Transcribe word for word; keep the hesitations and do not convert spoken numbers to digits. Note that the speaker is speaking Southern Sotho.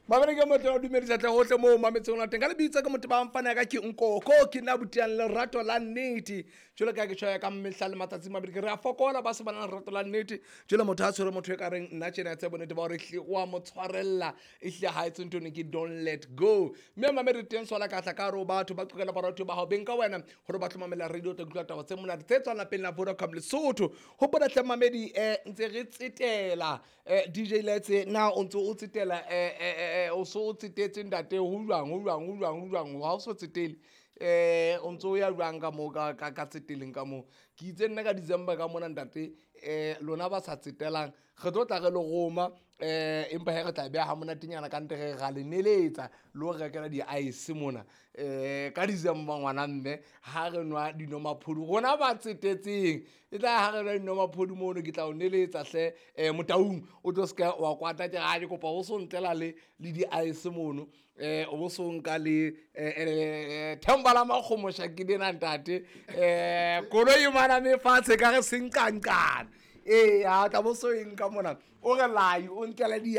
Mamele ke motho wa dumedisa tle hohle moo mametseng la teng ka lebitso ke motho ba mfana ka ke Nkoko ke nna butiang lerato la nnete jwalo ka ke tjho ya ka mehla le matsatsi mabedi ke re a fokola ba se ba nang lerato la nnete jwale motho a tshwere motho e ka reng nna tjena tse bonnete ba hore ehlile wa mo tshwarella ehlile ha etse ntho eno ke don't let go. Mme mamedi teng swala ka tla ka hare ho batho ba qokela baratho ba hao beng ka wena hore ba tlo mamela radio tla utlwa taba tse monate tse tswang lapeng la Vodacom Lesotho. Hopola hle mamedi eh ntse re tsetela eh D J Letse na o ntse o tsetela eh eh o so o tsetetse ntate ho jwang ho jwang ho jwang ho jwang ha o so tsetele eh o ntse o ya jwang ka moo ka ka tseteleng ka moo ke itse nna ka December ka mona ntate eh lona ba sa tsetelang re tlo tla re le roma eh empa he re tla beha ha monatenyana ka ntle re ra le neletsa le ho rekela di-ice mona eh ka December ngwana mme ha re nwa dinomaphodi rona ba tsetetseng e tla ha re nwa dinomaphodi mono ke tla o neletsa hle eh Motaung o tlo ska wa kwata ke ga ke kopa o so ntlela le le di-ice mono eh o bo so nka le eh themba la makgomosha ke dena ntate eh koloi mana me fatshe ka re senqanqana. Eh a tla bo so eng ka mona o re lai o ntlela di